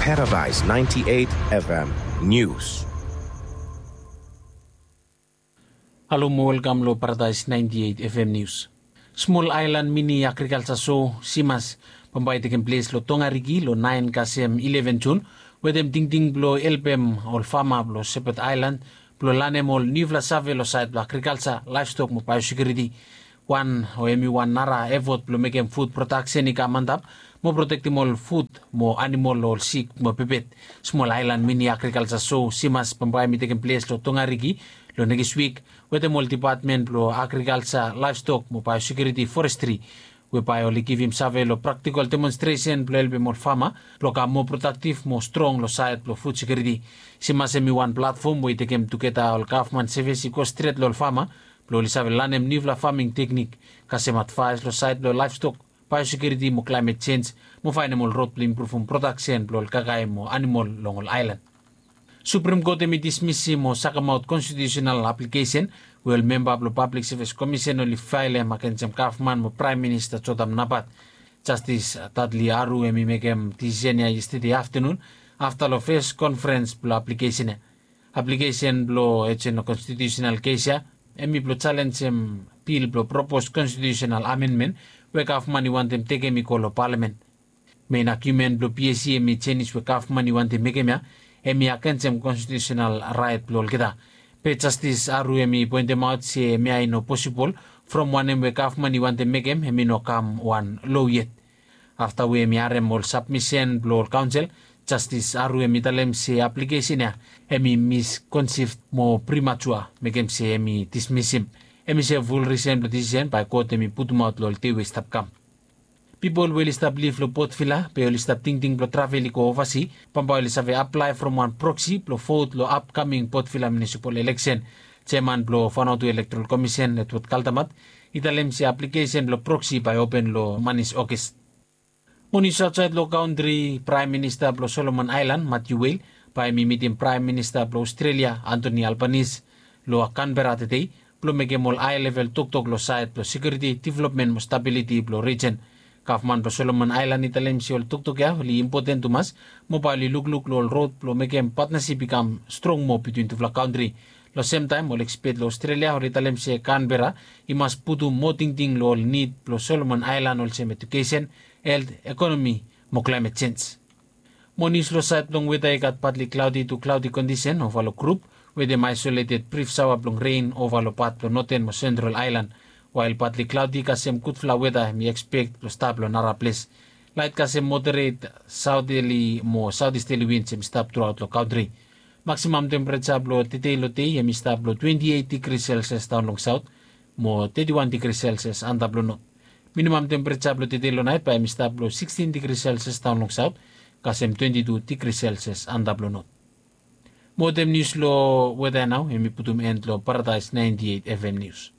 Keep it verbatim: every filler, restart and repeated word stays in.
Paradise ninety-eight F M News. Halo mo welkam lo Paradise ninety-eight F M News. Smol aelan mini agrikalsa so, simas, bambae i tekem ples lo Tongariki lo naen kasem ileven Jun, wetem tingting blo helpem ol fama blo Sepet Aelan blo lanem ol niufala save lo saed blo agrikalsa, laevstok mo baeosekiuriti. Wan o hemi wan nara efot blo mekem fud prodaksen i kam antap mo protektem ol fud mo anamol lo ol sik mo pepet. Smol aelan mini agrikalsa so, simas, bambae i tekem ples lo Tongariki lo nekis wik, wetem ol depatmen blo agrikalsa, laevstok mo baeosekiuriti, forestri, we bae oli givim save lo praktikol demonstresen blo helpem ol fama blo kam moa prodaktiv mo strong lo saed blo fud sekiuriti. Simas hemi wan platfom we i tekem tugeta ol gavman sevis i go stret lo ol fama blo oli save lanem niufala faming teknik, kasem advaes lo saed blo laevstok, baeosekiuriti mo klaemet jenj, mo faenem ol rod blo impruvum prodaksen blo ol kakae mo anamol long ol aelan. Suprem Kot hemi dismisim o sakemaot konstitiusenal aplikesen we ol memba blo Pablik Sevis Komisen oli faelem agensem gavman mo Praem Minista Jotam Napat. Jastis Dudley Aru hemi mekem disisen ya yestede aftenun, afta lo fes konferens blo aplikesen ya. Aplikesen blo ejen lo konstitiusenal kes ya hemi blo jalenjem bil blo propos konstitiusenal amenmen we gavman i wantem tekem i go lo palamen. Mein agiumen blo P S C hemi jenis we gavman i wantem mekem ya hemi agensem konstitiusenal raet blo olgeta. Be Jastis Aru hemi poentemaot se hemia i no posibol, from wanem we gavman i wantem mekem hemi no kam wan lo yet. Afta we hemi harem ol sabmisen blo ol kaonsel, Jastis Aru hemi talem se aplikesen ya hemi miskonsif mo primatua, mekem se hemi dismisim. Hemi se ful risen blo disisen bae kot hemi putumaot lo ol dei we i stap kam. Pipol we oli stap liv lo Port Vila be oli stap tingting blo travel i go ovasi, bambae oli save aplae from wan proksi blo vot lo apkaming Port Vila munisipal eleksen. Jeaman blo Vanuatu Elektoral Komisen, Edward Kaldamat, i talem se aplikesen blo proksi bae open lo manis Ogis. Mo nius aotsaed lo kantri, Praem Minista blo Solomon Aelan, Matthew Wale, bae hemi mitim Praem Minista blo Ostrelia, Anthony Albanese, lo Kanbera tedei blo mekem ol ae level toktok lo saed blo sekiuriti, developmen mo stabiliti blo rijen. Gavman blo Solomon Aelan i talem se ol toktok ya oli impoten tumas, mo bae oli lukluk lo ol rod blo mekem patnasip i kam strong moa bitwin tufala kantri. Lo semtaem ol ekspet lo Ostrelia oli talem se Kanbera i mas putum moa tingting lo ol nid blo Solomon Aelan, olsem ejukesen, helt, ekonomi mo klaemet jenj. Mo nius lo saed blong weta, i gat partly cloudy to cloudy kondisen ova lo grup wetem aesoleted brif saoa blong ren ova lo pat blo noten mo sentral aelan. Wael partly cloudy kasem gudfala weta hemi ekspek blo stap lo naraples. Laet kasem moderet saoteli mo saotisteli wins hemi stap truaot lo kantri. Maksimam tempereja blo tedei lo dei hemi stap lo twenti eit digri selsias daon long saot mo teti wan digri selsias antap lo not. Minimam tempereja blo tedei lo naet bae hemi stap lo sikstin digri selsias daon long saot kasem twenti tu digri selsias antap lo not. Mo wetem nius lo weta ya nao hemi putum en lo Paradaes naenti eit F M nius.